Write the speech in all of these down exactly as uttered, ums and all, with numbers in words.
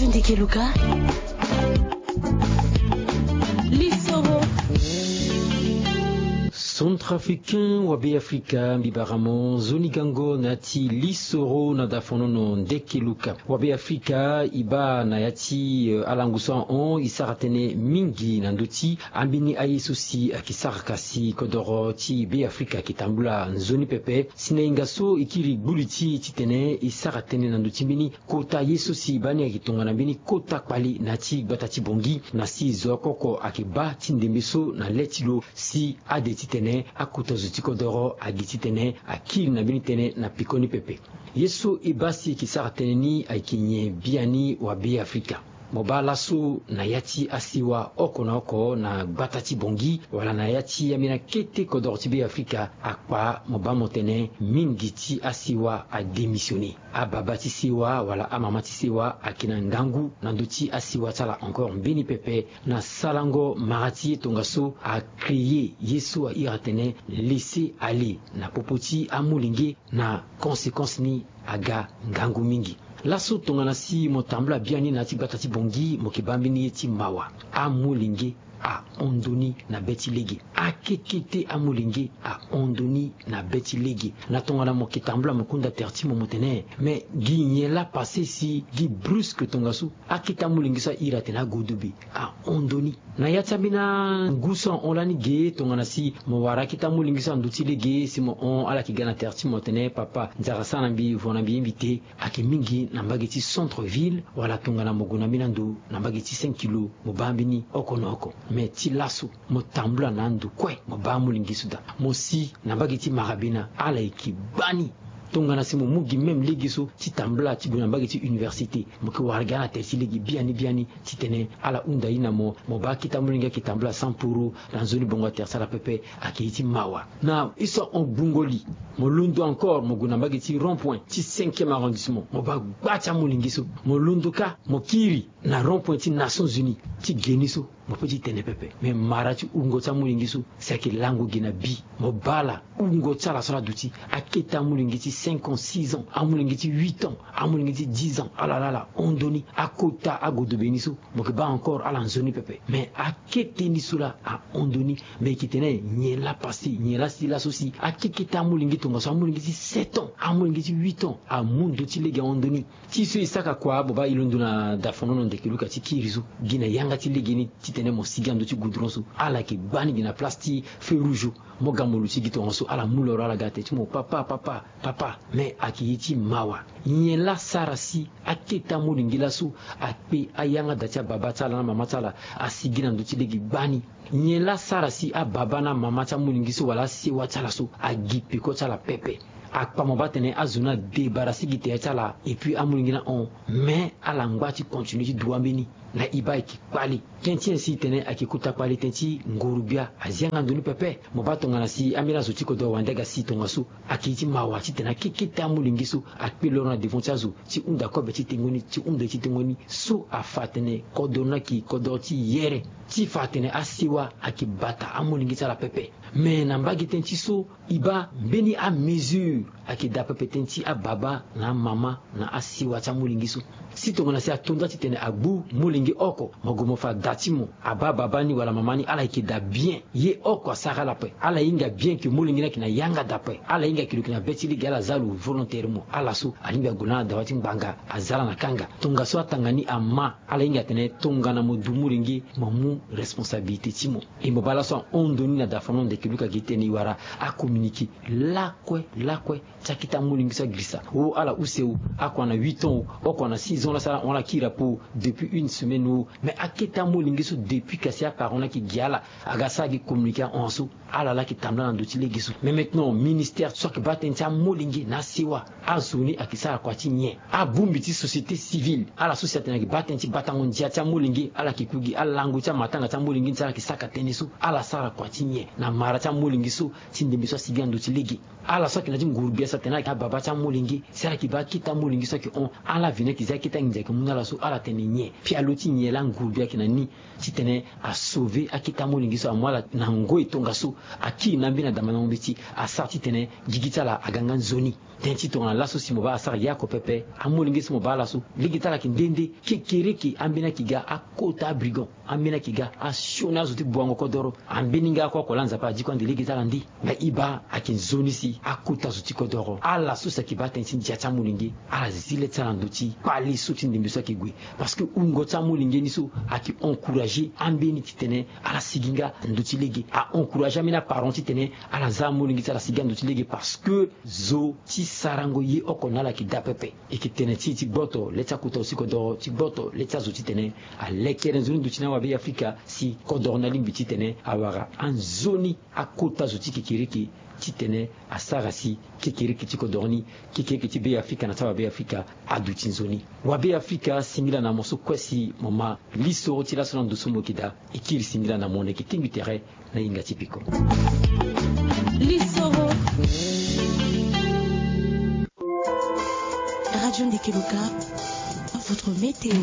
Ndeke luka. Lisoro. Centrafricain wa Be Afrika, mbi bara mo nzoni gango na ya ti lisoro na dafonono ndeke luka. Wa Be Afrika, e baa na ya ti, eh, alangu so ahon, e sara tënë mingi na ndö ti ambeni aye so si ayeke sara kasi kodoro ti Be Afrika ayeke tambula nzoni pepe. Si na hinga so e kiri gbu li ti e titene e sara tënë na ndö ti mbeni kota ye so si e baa ni ayeke tongana mbeni kota kpali na ya ti gbata ti Bangui, na si zo oko oko ayeke baa ti ndembe so na le ti lo si ade titene akota zo ti kodoro agi titene akiri na mbeni tënë na pekoni pepe. Ye so e baa si e yeke sara tënë ni ayeke nyen biani wa Be Afrika? Mo baa laso na ya ti asiwa oko na oko na gbata ti Bangui wala na ya ti ambeni akete kodoro ti Be Afrika, akpa mo baa mo tene mingi ti asiwa adémissionné. Ababa ti sewa wala amama ti sewa ayeke na ngangu na ndö ti asiwa ti ala encore mbeni pepe na sarango mara ti ye tongaso acréer ye so a iri atene laisser aller na popo ti amolenge. Na conséquence ni aga ngangu mingi. Laso tongana si mo tambula biani na ya ti gbata ti Bangui, mo yeke baa mbeni ye ti mawa. Amolenge ahon ndoni na be ti lege. Akekete amolenge ahon ndoni na be ti lege. Na tongana mo yeke tambula mo kunda tere ti mo mo tene, mais gi nyen laa passé si gi brusque tongaso akete amolenge so a iri atene agodobe ahon ndoni. Na ya ti ambeni angu so ahon lani ge tongana si mo wara akete amolenge so na ndö ti lege si mo hon ala yeke ga na tere ti mo tene papa nzara sara na mbi vo na mbi ye mbi te. Ayeke mingi na mbage ti centre ville wala tongana mo gue na mbeni ando na mbage ti cinq kilo mo baa mbeni oko na oko. Mais ti laso mo tambula na ando kue mo baa amolenge so daa. Mo si na mbage ti marabena ala yeke baa ni. Tongana si mo mu gi même lege so ti tambula ti gue na mbage ti université, mo yeke wara gi ala tere ti lege biani biani titene ala hunda ye na mo. Mo baa akete amolenge ayeke tambula cent poro na nzoni bongo atere ti ala pepe. Ayeke ye ti mawa. Na ye so ahon gbungo li, mo londo encore mo gue na mbage ti rond point ti cinquième arrondissement, mo baa gba ti amolenge so. Mo londo kâ mo kiri na rond point ti Nations Unies ti ge ni so. Mo peut ti tene pepe, mais mara ti wungo ti amolenge so si ayeke lango ge na bi. Mo baa ala wungo ti ala so ala duti. Akete amolenge ti cinq ans, six ans, amolenge ti huit ans, amolenge ti dix ans, ala laa ala hon ndoni. Akota agodobe ni so mo yeke baa encore ala nzoni pepe. Mais akete ni so laa ahon ndoni. Mais e yeke tene nyen laa passé, nyen laa si laso si akekete amolenge tongaso amolenge ti sept ans, amolenge ti huit ans amu ndö ti lege ahon ndoni. Ti so e saka kua mo baa e londo na dafonono ndeke luka ti kiri so gi na yanga ti lege ni titene mo sigi na ndö ti goudron so. Ala yeke baa ni gi na place ti feu rouge. Mo ga mo luti gi tongaso ala mu loro ala ga tere ti mo papa papa papa. Mais ayeke ye ti mawa. Nyen laa sara si akete amolenge laso akpe ayanga da ti ababa ti ala na mama ti ala asigi na ndö ti lege gbani? Nyen laa sara si ababa na mama ti amolenge so wala asewa ti ala so agi peko ti ala pepe? Akpa mo baa tene azo ni adebarasi gi tere ti ala. Et puis amolenge ni ahon, mais ala ngba ti continue ti dua mbeni. Na e baa e yeke kpali. Tënë ti nyen si e tene ayeke kota kpali? Tënë ti nguru-gbia azi yanga ndo ni pepe. Mo baa tongana si ambeni azo ti kodro wande aga si tongaso, ayeke ye ti mawa titene akekete amolenge so akpe loro na devant ti azo ti hunda kobe ti tengo ni, ti hunda ye ti tengo ni. So afa atene kodro ni ayeke kodro ti yere, ti fa atene asewa ayeke bata amolenge ti ala pepe. Me na mbage tënë ti so, e baa mbeni amesure ayeke daa pepe tënë ti ababa na amama na asewa ti amolenge so. Si tongana si ato nda titene agbu molenge oko, mo gue mo fa da ti mo, abaa baba ni wala mama ni ala yeke daa bien. Ye oko asara ala ape. Ala hinga bien ke molenge ni ayeke na yanga daa ape. Ala hinga ke lo yeke na be ti lege, ala za lo volontairement. Ala so alingbi ague na ala dawa ti ngbanga, aza ala na kanga. Tongaso atanga ni ama, ala hinga atene tongana mo du molenge, mo mu responsabilité ti mo. E mo baa laso ahon ndo ni na dafa mo ndeke luka gi tene e wara acommuniqué lakue lakue ti akete amolenge so agirisa. O ala use o, oko ana huit ans o, oko ana six ans, la so ala hon ala kiri apo depuis une semaine o. Mais akete amolenge so depuis kasi aparent ni ayeke gi ala, aga sara gi communiqué ahon so. Ala laa ayeke tambula na ndo ti lege so. Mais maintenant ministère so ayeke baa tënë ti amolenge na asewa, azo ni ayeke sara kua ti nyen? Abongbi ti société civile, ala so si atene ayeke baa tënë ti batango ndia ti amolenge, ala yeke ku gi alango ti amatanga ti amolenge ni si ala yeke saka tënë so. Ala sara kua ti nyen na mara ti amolenge so ti ndembe so asigi na ndo ti lege? Ala so ayeke na ya ti nguru-gbia so atene ala yeke ababa ti amolenge, si ala yeke baa akete amolenge so ayeke hon, ala veni ayeke zi akete anginza ayeke mu na ala so, ala tene nyen? Pialo ti nyen laa nguru bi ayeke na ni titene asauve akete amolenge so amu ala na ngoi tongaso. Akiri na ambeni adama na ngombe ti asara titene gigi ti ala aga nga nzoni. Tënë ti tongana laso si mo baa asara ye oko pepe. Amolenge so mo baa ala so lege ti ala ayeke nde nde. Kekereke ambeni ayeke ga akota abrigand. Ambeni ayeke ga asioni azo ti buango kodoro. Ambeni nga oko oko laa Nzapa adi kue ande lege ti ala nde. Me e baa ayeke nzoni si akota zo ti kodoro ala so si ayeke baa tënë ti ndia ti amolenge ala zi le ti ala na ndö ti kpale so ti ndembe so ayeke gue. Parce que wungo ti amolenge ni so ayeke encourager ambeni titene ala sigi nga na ndö ti lege. A encourager ambeni aparent titene ala za amolenge ti ala sigi nga na ndö ti lege parce que zo ti sarango ye oko na ala ayeke daa pepe. E yeke tene ti e ti gboto le ti akota zo ti kodoro ti gboto le ti azo titene alekere nzoni ndö ti na wabe Afrika si kodoro ni alingbi titene awara anzoni akota zo ti kekereke titene asara si kekereke ti kodoro ni, kekereke ti be Afrika na ti awabe Afrika aduti nzoni. Wabe Afrika singila na mo so kue si mo ma lisoro ti laso na ndo so mo yeke daa. E kiri singila na mo na yeke tingbi tere na hinga ti peko. Lisoro. Radio Ndeke Loka, votre météo.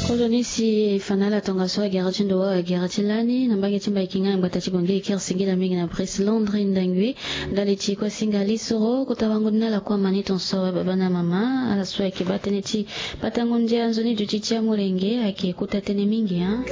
Kozoni si e fa na ala tongaso agere ti ndo wâ agere ti lani na mbage ti Mbaï Kinga na gbata ti Bangui. E kiri singila mingi na Brice Landry Ndangui. Ndali ti kue singa lisoro kota wango ni na ala kue amani tonso awe baba na mama. Ala so ayeke baa tënë ti batango ndia nzoni duti ti amolenge ayeke kota tënë mingi, hein.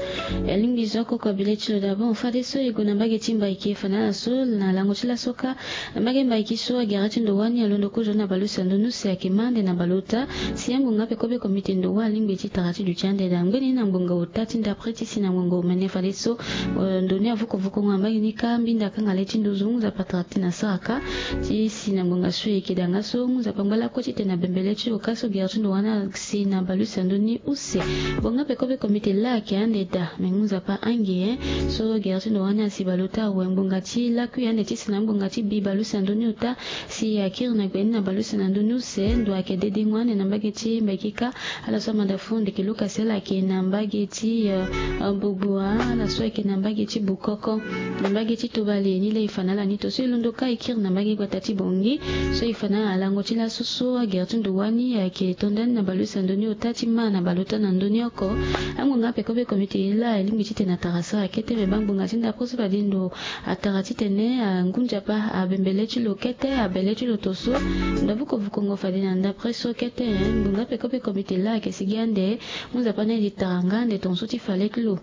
E lingbi zo oko kobile ti lo dabord fadeso e gue na mbage ti Mbaï Kinga e fa na ala so na lango ti laso kâ. Na mbage Mbaï Kinga so agere ti ndo wâ ni alondo kozoni na baleuse na ndö ni use ayeke ma ande na baleota. Si angbonga ape kobe komite ndo wâ alingbi ti tara ti duti ande daa ngbeni na ngbonga ota ti ndapre ti si na ngbonga omene fadeso, eh, ndo ni avukovukongo na mbage ni kâ mbinda akanga le ti nduzu. Nzapa tara ti na sara kâ ti si na ngbonga so e yeke daa nga so Nzapa ngba lakue titene abembe le ti lo kâ so gere ti ndo wâ ni asi na baleuse na ndö ni use. Ngbonga ape kobe komite laa ayeke ande daa me ngu Nzapa ange, hein. So gere ti ndo wâ ni asi baleota awe ngbonga ti lakui ande ti si na ngbonga ti bi baleuse na ndö ni ota. Si akiri na gbe ni na baleuse na ndö ni use ndo ayeke dedengo ande na mbage ti Mbaï Kinga. Ala so amanda fo ndeke Luka si ala ayeke na mbage ti, eh, eh, Bogboa, ala so ayeke na mbage ti Bukoko, na mbage ti Tobale ni laa e fa na ala ni to so e londo kâ e kiri na mbage gbata ti Bangui. So e fa na ala lango ti laso so agere ti ndo wâ ni ayeke to ndani na baleuse na ndö ni ota ti ma na baleota na ndö ni oko. Angbonga ape kobe komite laa e lingbi titene atara sara kete me baa ngbonga ti ndapre so fade ndo atara titene angu Nzapa abembe le ti lo kete abe le ti lo tonso. Ndo avukovukongo fade na ndapre so kete, hein. Ngbonga ape kobe komite laa ayeke sigi ande. Ngu Nzapa ni adi tara nga ande tonso ti fa le ti lo.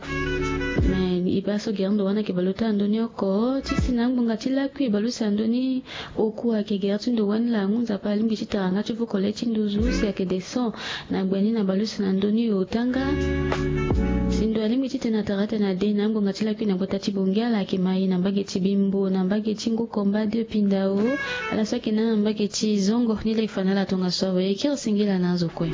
Me e baa so gere ndo wâ ni ayeke baleota na ndö ni oko ti si na angbonga ti lakui baleuse na ndö ni oku ayeke gere ti ndo wâ ni laa ngu Nzapa alingbi ti tara nga ti vuko le ti nduzu si ayeke descend na gbe ni na baleuse na ndö ni ota nga. Si ndo alingbi titene atara atene ade na angbonga ti lakui na gbata ti Bangui ala ayeke ma e na mbage ti Bimbo na mbage ti Ngu Komba de Pindao. Ala so ayeke na mbage ti Zongo ni laa e fa na ala tongaso awe e kiri singila na azo kue.